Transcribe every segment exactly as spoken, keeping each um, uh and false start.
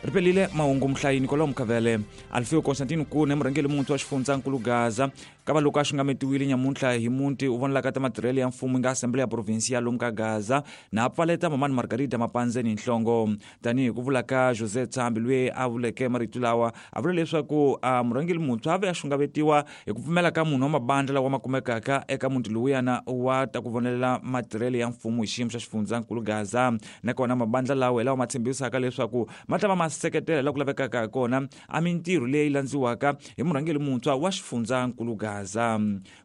Ripelile mahungu muhlayini kwalomu Kavele. Alfio Constantino Kune, murhangeri muntshwa wa xifundzankulu Gaza, kava loko a xungametiwile nyamuntlha hi muti u vonelaka ta matirhelo ya mfumo nga Assembly ya Provincial lomu ka Gaza na pfaleta Mamani Margarita Mapanzeni nhlongo. Tanihi ku vula ka José Tsambi loyi a vuleke marito lawa, a vula leswaku murhangeri muntshwa a ve a xungavetiwa hi ku pfumela ka munhu wa mabandla lawa ma kumekaka eka muti lowuyana wa ta ku vonelela matirhelo ya mfumo hi xiyimo xa xifundzankulu Gaza. Nakona mabandla lawa hi lawa ma tshembisaka leswaku ma ta va ma seketela laha ku lavekaka ha kona a mintirho leyi landziwaka hi murhangeri muntshwa wa xifundzankulu Gaza.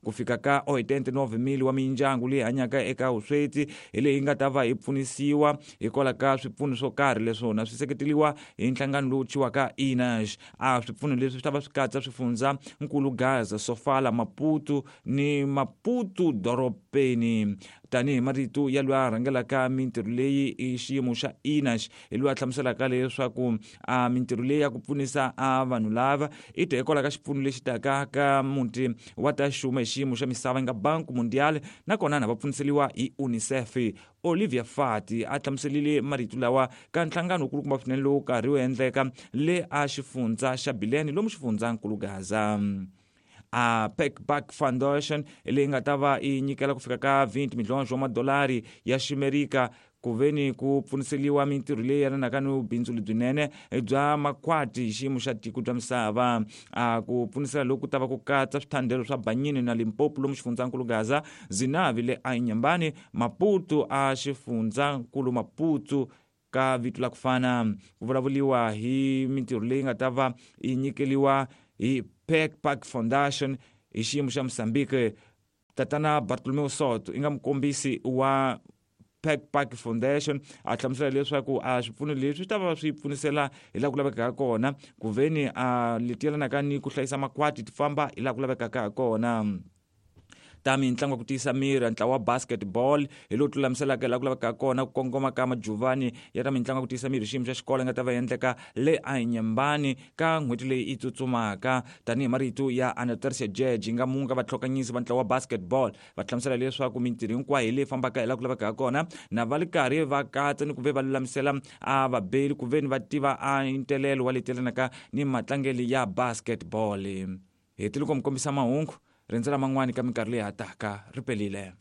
Ku fika ka oitenta e nove mil wa mindyangu leyi hanyaka eka vusweti hi leyi nga ta va yi pfunisiwa hikwalaho ka swipfuno swo karhi leswona swi seketeriwa hi nhlangano lowu thyiwaka I N A G. A swipfuno leswi swi ta va swi katsa swifundzankulu Gaza, Sofala, Maputo ni Maputo dorobeni. Tanihi marito ya loyi a rhangelaka mintirho leyi i xiyimo xa I N A G, hi loyi a hlamuselaka leswaku a mintirho leyi ya ku pfunisa a vanhu lava i ta hikwalaho ka xipfuno lexi taka ka muti wa ta xuma hi xiyimo xa misava nga Banco Mundial, nakona na va pfuniseliwa hi UNICEF. Olivia Fati a hlamuselile marito lawa ka nhlangano wukulukumba swinene lowu karhi wu endleka le a xifundza xa Bilene lomu xifundzankulu Gaza. A Packback Foundation leyi nga ta va yi nyikela ku fika ka twenty milhonjo wa madolari ya ximerika ku veni ku pfuniseliwa mintirho leyi yelanaka ni bindzu lebyinene bya makhwati hi xiyimo xa tiko bya misava. A ku pfunisela loku ta va ku katsa swithandelo swa Banyini na Limpopo lomu xifundzankulu Gaza, Zinavi le Inhambane, Maputo a xifundzankulu Maputo ka vito la ku fana. Ku vulavuriwa hi mintirho leyi nga ta va yi nyikeliwa hi Pack Foundation hi xiyimo xa Mozambique. Tatana Bartolomeu Soto i nga mukombisi wa Pack Foundation a hlamusela leswaku a swipfuno leswi swi ta va swi pfunisela hi laha ku lavekaka kona ku veni a leti yelanaka ni ku hlayisa makhwati ti famba hi laha ku lavekaka ha kona. Ta mitlangu ya ku tiyisa miri, ntlawa wa basketball hi lowu tlulamiselaka laha ku lavekaka kona ku kongoma ka majuvani ya ta mitlangu ya ku tiyisa miri hi xiyimo xa xikolo nga ta va endleka le Inhambane ka n'hweti leyi yi tsutsumaka. Tanihi marito ya Anastasia George nga munga vatlhokanyisi va ntlawa wa basketball, va hlamusela leswaku mintirho hinkwayo hi leyi fambaka hi laha ku lavekaka kona na va ri karhi va katsa ni ku ve va lulamisela a vabeli ku veni va tiva a ntelelo wa leti yelanaka ni matlangelo ya basketball. Hetile ku mi kombisa mahungu, rindzela man'wani ka minkarhi leyi hataka. Ri pelile.